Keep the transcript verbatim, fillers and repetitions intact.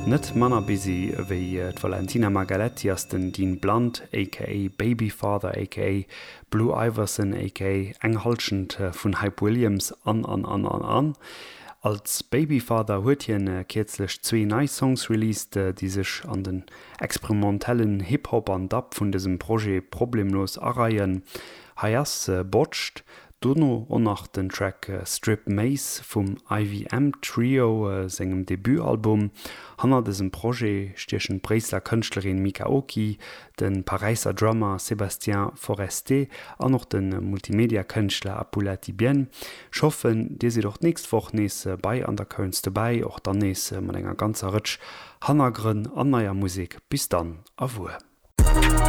Net manner busy wéi d'Valentina Margaletti ass den Dean Blunt aka Babyfather aka Blue Iverson aka eng Hallschent vun Hype Williams an an an an an. Als Babyfather huet hien kierzlech zwee nei Songs released, déi sech an den experimentellen Hip-Hop an Dub vun dësem Projet problemlos areien. Hei ass Botched, dono och nach den Track Strip Maze vum IVM Trio sengem Debutalbum. Hanner dësem Projet stiechen d'Bréisseler Kënschtlerin Mika Oki, de Paräisser Drummer Sébastien Forestier an och de Multimedia-Kënschtler Apulati Bien. Ech hoffen, dir sidd och d'nächst Woch nees bei Undercurrents dobäi, och dann nees mat enger ganzer Rëtsch Hannergrënn an neier Musek. Bis dann, au revoir.